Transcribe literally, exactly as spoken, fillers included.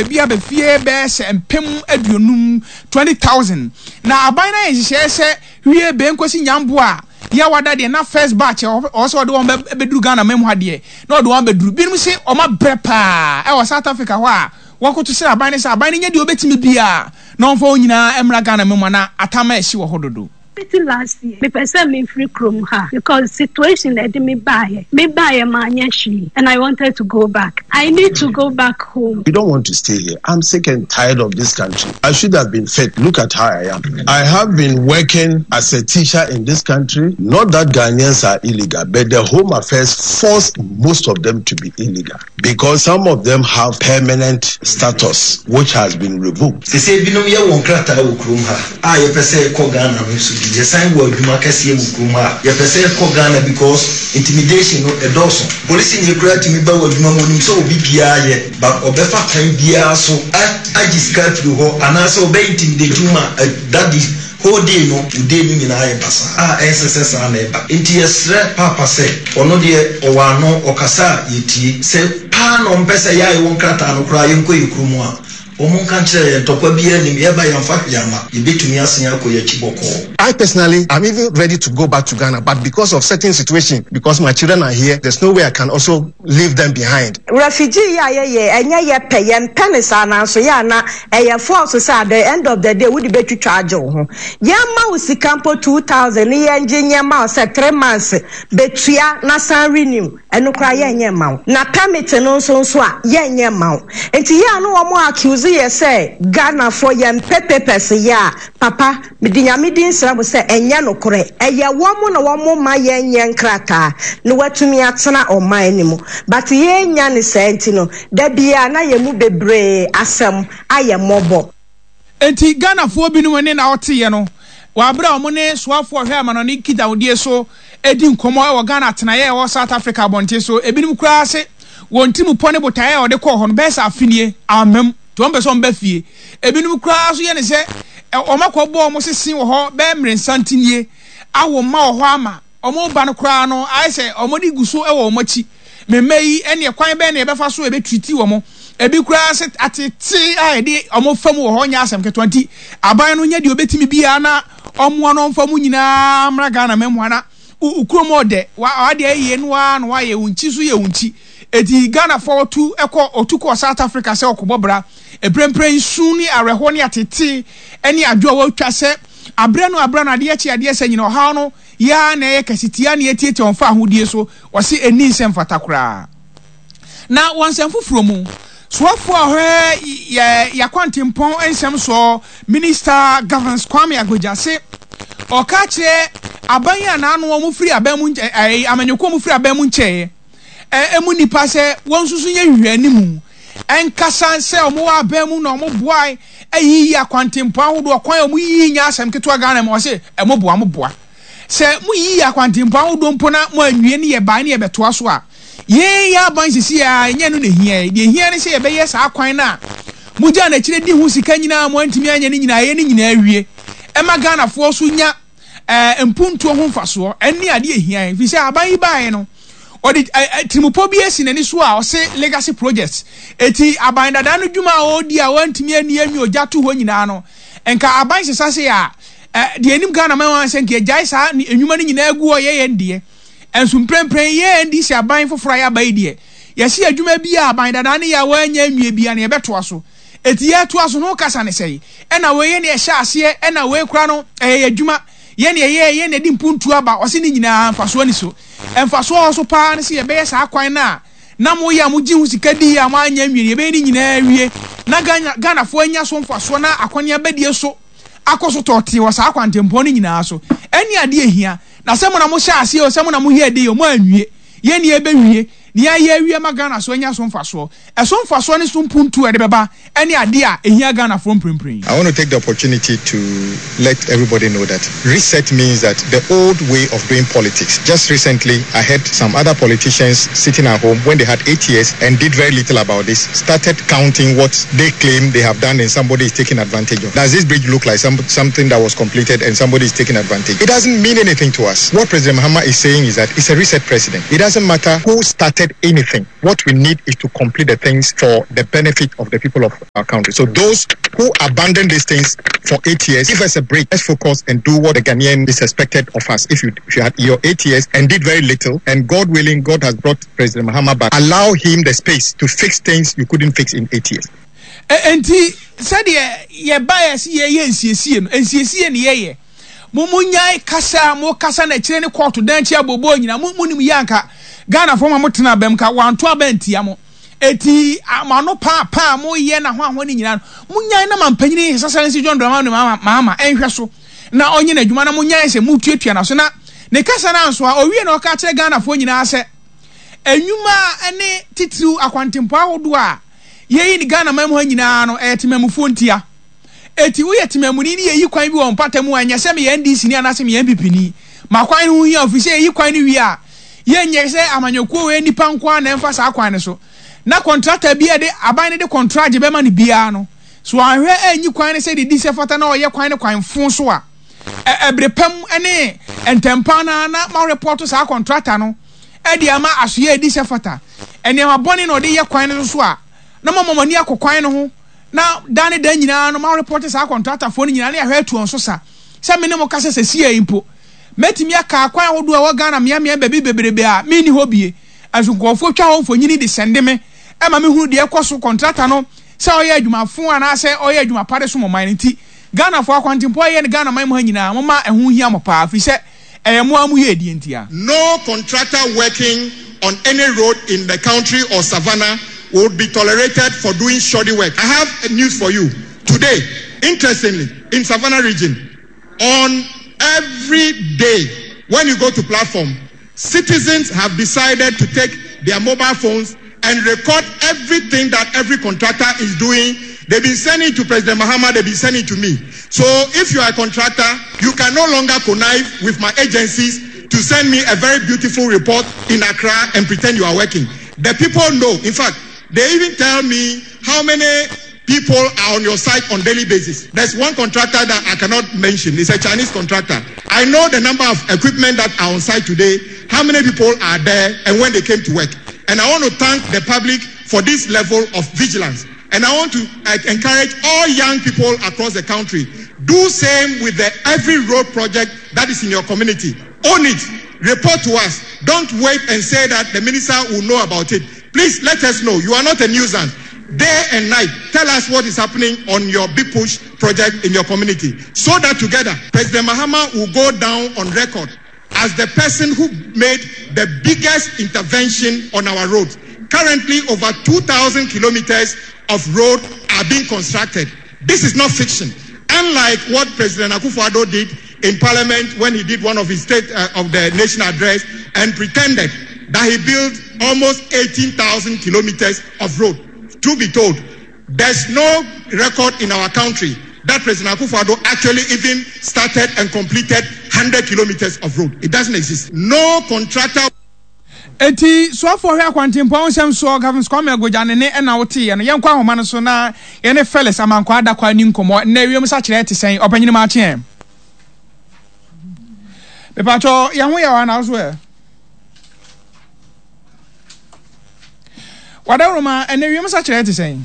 apɛ bi aba fie bɛyɛ sɛ mpem aduonum twenty thousand na aban no ayɛ nhyehyɛeɛ sɛ wie bɛn kɔsi nyambo a yɛawada deɛ na first batch ɔwɔ sɛ ɔde wɔn bɛduru Ghana man mu ha deɛ na ɔde wɔn bɛduru binom se wɔn abrɛ paa ɛwɔ South Africa hɔ a wɔkoto srɛ aban no sɛ aban no nyɛ deɛ ɔbɛtumi biara na ɔmfa wɔn nyinaa mmra Ghana man mu a na atam a ɛhye wɔ hɔ dodo. Fiti last year mepɛ sɛ mefiri kurom ha because situation na ɛde me baeɛ. Me baeɛ manyɛ hwee and I wanted to go back. I need to go back home. We don't want to stay here. I'm sick and tired of this country. I should have been fit. Look at how I am. I have been working as a teacher in this country. Not that Ghanaians are illegal, but the Home Affairs forced most of them to be illegal because some of them have permanent status which has been revoked. Sese binom yɛ wɔn krataa wɔ kurom ha a yɛpɛ sɛ yɛkɔ Ghana no nso bi yɛsan wɔ adwuma kɛseɛ wɔ kurom ha a yɛpɛ sɛ yɛkɔ Ghana because intimidation no ɛdɔɔso. Polisi ni koraa tumi ba wɔ adwuma mu onim sɛ obi biara yɛ but ɔbɛfa kwan biara so agye sika afiri hɔ anaasɛ ɔbɛ intimidate wo ma that the whole day no wo day no nyinaa yɛ basaa a ɛnsɛ sɛ saa na ɛba. Nti yɛsrɛ paapa sɛ ɔno deɛ ɔwɔ ano ɔkasa a yɛtie sɛ paa na ɔmpɛ sɛ yɛ a yɛwɔ nkrataa no koraa yɛnkɔ yɛ kurom a wɔn nka nkyerɛ yɛn ntɔkwa biara nim yɛba yɛmfa hwee ama yɛbɛtumi asen akɔ yɛn akyi bɔkɔɔ. I personally am even ready to go back to Ghana, but because of certain situation, because my children are here, there's no way I can also leave them behind. Refugee yi a yɛyɛ ɛnyɛ yɛ pɛ yɛmpɛ ne saa nanso yɛ ana ɛyɛ force sɛ at the end of the day wode bɛtwitwa agye wo ho yɛma wo sika mpo two thousand ne yɛngye nyɛma wo sɛ three months bɛtua na san renew ɛno koraa yɛnyɛ ma wo na permit no nso nso a yɛnyɛ ma wo nti yɛ a no wɔn accuse yɛ sɛ Ghanafoɔ yɛmpɛ papers yɛ a papa mede nyame din srɛ mo sɛ ɛnyɛ nokorɛ ɛyɛ wɔn na wɔn ma yɛnyɛ nkrataa na watumi atena ɔman no mu but yɛnya ne saa nti no da biara na yɛn mu bebree asɛm ayɛ mmɔbɔ. Enti Ghanafoɔ binom ne na ɔteeɛ no wɔ abere a wɔn ne soafoɔ ɔhwɛ amanɔne nkitahodie so edi nkɔmmɔ wɔ Ghana atenaeɛ a ɛwɔ South Africa abɔnten so. Ebinom koraa se wɔn tirimupɔ ne botaeɛ a wɔde kɔɔ hɔ no bɛyɛ sɛ afenie amam nti wɔn pɛ sɛ wɔn ba fie. Ebinom koraa nso yɛ ne sɛ wɔn akɔbɔ wɔn sese wɔ hɔ bɛyɛ mmerɛnsa ntinie awo mma wɔ hɔ ama wɔn ba no koraa no ayɛ sɛ wɔn de gu so wɔ wɔn akyi. Mmɛmma yi ɛne kwan bɛn na yɛbɛfa so yɛbɛtiriti wɔn. Ebi koraa sɛ atete a yɛde wɔn fa mu wɔ hɔ nyɛ asɛm ketewa nti aban no nyɛ deɛ obetumi biara na ɔmoa no ɔmfa mu nyinaa mmra Ghana mɛmoa na wo kurom ɔdɛ wa adeɛ yie no ara na wayɛ wo nkyi so yɛ wo nkyi eti Ghanafoɔ ɔtu ɛkɔ ɔtu kɔ South Africa sɛ ɔkɔbɔ bra mprempren nsu ne awerɛhoɔ ne atete ɛne adwo a wɔatwa sɛ abrɛ no abrɛ no adeɛ kye adeɛ sɛ nyina ɔhaw no yaa na ɛyɛ kɛse tia ne etiatia wɔn fa ahodie so wɔsi eni nsɛm fata koraa na wɔn nsɛm foforɔ mu soafoɔ a ɔhwɛ yɛ yɛakwantempɔn nsɛm soɔ Minister Governs Kwame Agbodza se ɔka kyerɛ aban yi a n'ano wɔn firi aban mu nkyɛn ɛɛ amanyɔkuo wɔn firi aban mu nkyɛn ɛ emu nipa sɛ wɔn nso so nyɛ hwehwɛ anim ɛnkasa sɛ wɔn wɔ aban mu na wɔn boa ɛyiyi akwantempɔn ahodoɔ kwan a wɔn yiyi nyɛ asɛm ketewa Ghana mu ɔse ɛmo boa mo boa sɛ mo yiyi akwantempɔn ahodoɔ mpo na mo anwie ne yɛ baa ne yɛ bɛtoa so a yɛn yɛ aban sisi a ɛnyɛ no na ehia yɛ deɛ ehia ne sɛ yɛbɛyɛ saa kwan na mo gya n'akyire di ho sika nyinaa mo antumi anyɛ ne nyinaa yɛ ne nyinaa awie ɛma Ghanafoɔ so nya ɛɛ mpuntuo ho mfasoɔ ɛne adeɛ ehia yɛn fi sɛ aban yi baeɛ no ɔde ɛ tirimupɔ bi esi n'ani so a ɔse legacy projects eti aban dada no dwuma a ɔredi a wɔntumi ani anwi ogya to hɔ nyinaa no nka aban sesa se a ɛ deɛ anim Ghana man wɔn sɛ nka egyae saa nnwuma no nyinaa gu hɔ yɛ yɛn deɛ nso mprempren yɛ N D C aban foforɔ a yɛaba yi deɛ yɛsi adwuma bi a aban dada no yɛ a wɔanya nwie bia no yɛbɛtoa so eti yɛtoa so no kasa ne sɛyi ɛna wei yɛ ne ɛhyɛ aseɛ ɛna wei kora no ɛyɛ yɛ adwuma yɛn ne ɛyɛ yɛn na ɛde mpuntu aba ɔsi ne nyinaa mfasoɔ ni so mfasoɔ wɔ so paa ne sɛ yɛbɛyɛ saa kwan no a na mo yɛ a mo gye ho sika di a mo anya nwie yɛbɛyɛ ne nyinaa wie na Ghana Ghanafoɔ anya so mfasoɔ na akɔneaba die so akɔ so tɔɔtee wɔ saa kwantempɔn no nyinaa so ɛne adeɛ ehia na sɛ mo na mo hyɛ aseɛ o sɛ mo na mo yɛ de yɛ mo anwie yɛn ni yɛbɛwie ne yɛayɛ awie ma Ghana so anya so mfasoɔ ɛso mfasoɔ ne so mpuntu a ɛde bɛba ɛne adeɛ a ehia Ghanafoɔ mprempren. I want to take the opportunity to let everybody know that reset means that the old way of doing politics. Just recently, I heard some other politicians sitting at home when they had eight years and did very little about this, started counting what they claim they have done and somebody is taking advantage of. Does this bridge look like some, something that was completed and somebody is taking advantage? It doesn't mean anything to us. What President Mahama is saying is that it's a reset president. It doesn't matter who started started anything. What we need is to complete the things for the benefit of the people of our country. So those who abandon these things for eight years, give us a break. Let's focus and do what the Ghanaian is expected of us. If you, if you had your eight years and did very little, and God willing, God has brought President Mahama back, allow him the space to fix things you couldn't fix in eight years. Enti sɛdeɛ yɛbaeɛ sɛ yɛyɛ nsiesie no, nsiesie ne yɛyɛ. Mo monyae kasa a mokasa no akyire ne kɔɔto dan akyi abooboo nyinaa. Mo monim yie anka Ghanafoɔ ma motena aba mu ka wɔanto aba antia mo. Enti mo ano paa paa a moyɛ na hwanhwa no nyinaa no, monyae na mampanyini His Excellency John Dramani Mahama nhwɛ so na ɔnyɛ n'adwuma na monyae sɛ motuatua n'aso na ne kasa no anso a ɔwie na ɔka kyerɛ Ghanafoɔ nyinaa sɛ nnwuma ne titiriw akwantempɔn ahodoɔ a yɛyi no Ghana man mu ha nyinaa no ɛyɛ temamufoɔ ntia. Eti woyɛ temamuni ne yɛyi kwan bi wɔ mpata mu a ɛnyɛ sɛ meyɛ NDC ni anaasɛ meyɛ NPP ni. Ma kwan no ho hia ofiri sɛ yɛyi kwan no wie a yɛnyɛ sɛ amanyɔkuo wei nnipa nko ara na ɛmfa saa kwan no so. Na kɔntrata bi a ɛde aban no de kɔntragye bɛma no biara no, so wanhwɛ anyi kwan no sɛdeɛ ɛdi sɛ fata na ɔyɛ kwan no kwan fo so a, ɛbere pa mu ne ntɛmpa no ara na moarepɔto saa kɔntrata no de ama asoeɛ a ɛdi sɛ fata. Nneɛma bɔne na ɔde yɛ kwan no so a, na moama mo ani akɔ kwan no ho na da ne da nyinaa no moarepɔte saa kɔntratafoɔ no nyinaa na yɛahwɛ atu wɔn so sa. Sɛ me ne mo kasa seesei yi mpo, mɛtumi aka akwan ahodoɔ a ɛwɔ Ghana mmeammea baabi bebrebe a menni hɔ bie. Nso nkurɔfoɔ twa hɔ mfonini de sɛnde me ma mehunu deɛ ɛkɔ so, kɔntrata no sɛ ɔyɛ adwuma fo anaasɛ ɔyɛ adwuma pa de som ɔman no nti. Ghanafoɔ, akwantempɔn a ɛyɛ no Ghana man mu ha nyinaa, momma ɛho nhia mo paa, firi sɛ ɛyɛ mo ara mo yiedie ntia. No contractor working on any road in the country or savannah would be tolerated for doing shoddy work. I have news for you today. Interestingly, in Savannah region, on every day when you go to platform, citizens have decided to take their mobile phones and record everything that every contractor is doing. They've been sending to President Mahama, they've been sending to me. So if you are a contractor, you can no longer connive with my agencies to send me a very beautiful report in Accra and pretend you are working. The people know. In fact, they even tell me how many people are on your site on daily basis. There's one contractor that I cannot mention. It's a Chinese contractor. I know the number of equipment that are on site today, how many people are there, and when they came to work. And I want to thank the public for this level of vigilance. And I want to uh, encourage all young people across the country, do same with the every road project that is in your community. Own it. Report to us. Don't wait and say that the minister will know about it. Please let us know. You are not a nuisance. Day and night, tell us what is happening on your Big Push project in your community. So that together, President Mahama will go down on record as the person who made the biggest intervention on our roads. Currently, over two thousand kilometers of road are being constructed. This is not fiction. Unlike what President Akufo-Addo did in Parliament when he did one of his State, uh, of the Nation address and pretended that he built almost eighteen thousand kilometers of road. To be told, there's no record in our country that President Akufo-Addo actually even started and completed hundred kilometers of road. It doesn't exist. No contractor. Enti soafoɔ hwɛ akwantempɔn nsɛm soɔ Gavins Kwame Agbodza ne ne ɛna woteeɛ no, yɛnkɔ ahoma no so na yɛne Felix Amankwaa Adakwa nni nkɔmmɔ. Nnɛ wiem sakyerɛɛ te sɛn? Ɔpanyini makye ɛ? Mepakyɛ yɛn ho yɛ wɔ anaa wo so ɛ? Wadawuroma, ɛnnɛ wiem sakyerɛɛ te sɛn?